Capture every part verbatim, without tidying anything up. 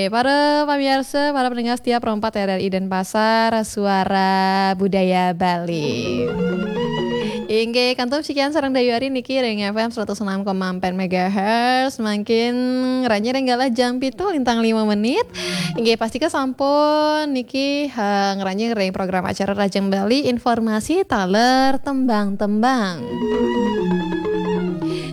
Eh, para pamiarsa, para pendengar setia Pro empat R R I Denpasar, Suara Budaya Bali. Inggih, kantun sikian sareng Dayu Ari niki ring F M seratus enam koma empat megahertz. Mangkin ngranjing ring galah jam pitu lintang lima menit. Inggih, pastika sampun niki, eh, ngranjing ring program acara Rajang Bali, informasi taler tembang-tembang.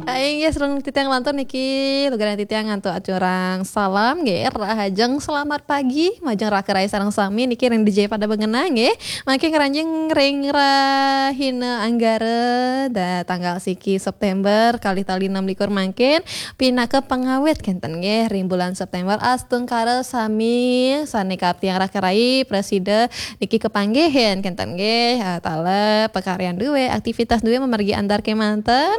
Ah, inggih, sareng titiang lantur niki, lugrayang titiang antuk aturang salam nggih, rahajeng selamat pagi majeng raka rai sareng sami niki ring D J pada bengenang nggih. Mangkin ngranjing ring rahina Anggara da tanggal siki September kalih tali enam likur mangkin pinaka pangawit kenten nggih ring bulan September, astungkara sami sane kaptiang raka rai prasida niki kapanggihin kenten nggih, eh, taler pakaryan duwe, aktivitas duwe mamargi antar kemanten.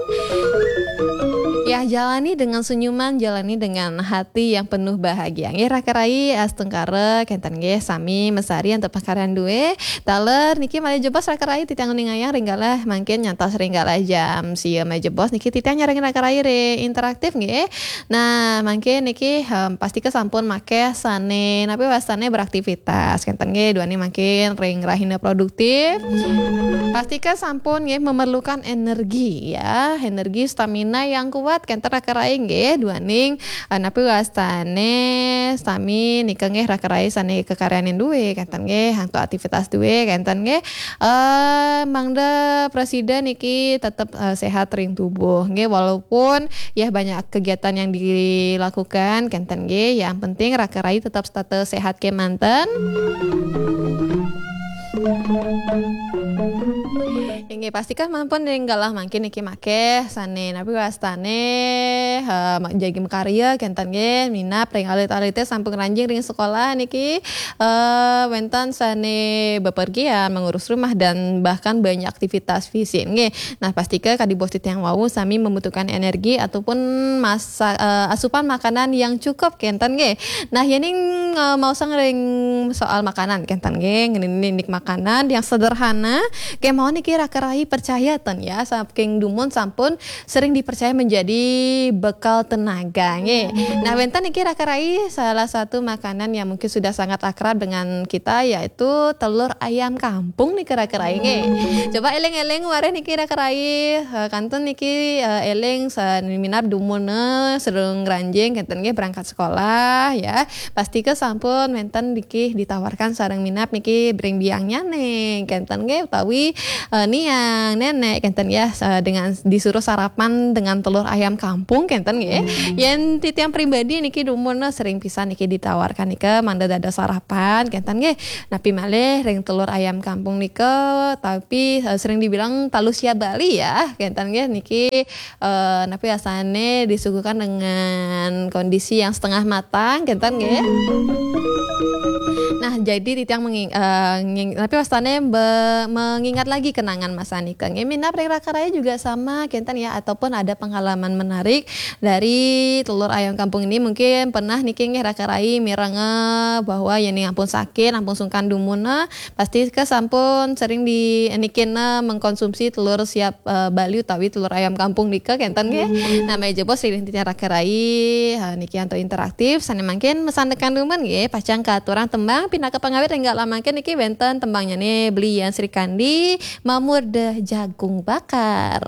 Ya, jalani dengan senyuman, jalani dengan hati yang penuh bahagia. Nggih, raka rai astungkara kenten nggih sami mesari antuk pakaryan duwe. Taler niki malih jebos raka rai titiang uningayang ring galah mangkin nyantos ring galah jam sia malih jebos niki titiang nyarengin raka rai ring interaktif nggih. Nah, mangkin niki, em, pastika sampun makeh sane napi wastane beraktivitas. Kenten nggih, duaning mangkin ring rahina produktif. Pastika sampun nggih memerlukan energi ya, energi stamina yang kuat kenten raka rai nggih, duaning, eh, napi wastane sami nika nggih raka rai sane kakaryanin duwe kenten nggih, antuk aktivitas duwe kenten nggih. Eh, mangda prasida niki tetep, eh, sehat ring tubuh nggih, walaupun ya banyak kegiatan yang dilakukan kenten nggih, yang penting raka rai tetap setata sehat kemanten. Inggih, pastika sampun ring galah mangkin niki makeh sane napi wastane, eh, ma-, jagi makarya kenten nggih, minab ring alit-alite sampun ngranjing ring sekolah niki, eh, wenten sane bepergian, mengurus rumah dan bahkan banyak aktivitas fisik nggih. Nah, pastika kadi bos titiang wau sami membutuhkan energi ataupun masa, eh, asupan makanan yang cukup kenten nggih. Nah, yening, eh, maosang ring soal makanan kenten nggih, ngenindik makanan yang sederhana, kemawon niki raka rai percaya ten ya, saking dumun sampun sering dipercaya menjadi bekal tenaga nggih. Nah, wenten niki raka rai salah satu makanan yang mungkin sudah sangat akrab dengan kita, yaitu telur ayam kampung niki raka rai nggih. Coba eling-eling wareh niki raka rai, eh, kantun niki, eh, eling sa-, minab dumun, eh, sareng ngranjing kenten nggih berangkat sekolah ya. Pastika sampun wenten niki ditawarkan sareng minab niki ring biangnyane kenten nggih utawi, eh, niang, nenek kenten ya, sa-, dengan disuruh sarapan dengan telur ayam kampung kenten nggih. Yen titiang pribadi niki dumun sering pisan niki ditawarkan nika mangda dados sarapan kenten nggih. Napi malih ring telur ayam kampung nika, tapi, eh, sering dibilang talu siap Bali ya kenten nggih niki, eh, napi wastane disuguhkan dengan kondisi yang setengah matang kenten nggih. Nah, jadi titiang menging-, eh, nging-, napi wastane be-, mengingat lagi kenangan masa nika nggih. Minab ring raka rai juga sama kenten ya, ataupun ada pengalaman menarik dari telur ayam kampung ini, mungkin pernah niki nggih raka rai mireng, eh, bahwa yening ampun sakit, ampun sungkan dumun, eh, pastika sampun sering di niki, eh, mengkonsumsi telur siap, eh, Bali utawi telur ayam kampung nika kenten nggih. Nah, malih jebos ring titiang raka rai, eh, niki antuk interaktif sane mangkin masandekan dumun nggih, pacang katurang tembang pinaka pangawit ring galah mangkin niki wenten tembangnyane Beli Yan Srikandi, Mamurda Jagung Bakar.